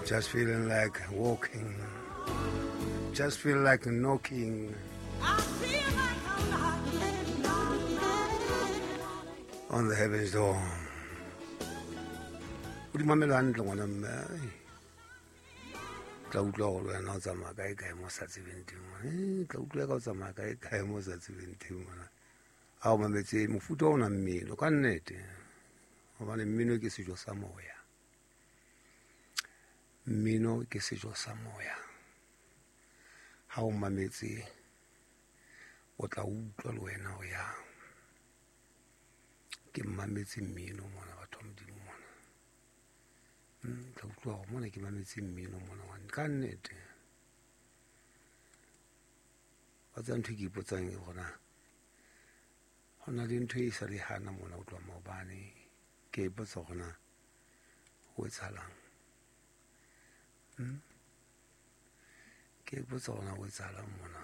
Just feeling like walking. Just feel like knocking on the heavens door. O di mamela hantle ngwana mme. Tla utlwa gore wena o tsamaya kae kae mo sa tsebeng teng ngwana. Tla utlwa ka o tsamaya kae kae mo sa tsebeng teng ngwana. Ha o mametse mofuta ona mmino ka nnete. Hobane mmino ke sejo sa moya. Mmino ke sejo sa moya. Ha o mametse o tla utlwa le wena o yang. Ke mametse mmino mona batho ba Modimo mona. Tla utlwa hore mona ke mametse mmino mona ngwana ka nnete. Wa tseba ntho e ke ipotsang ke hore na ho na le ntho e sa le hana mona ho tloha maobane. Ke a ipotsa hore na ho etsahalang. Ke a ipotsa hore na ho etsahalang mona.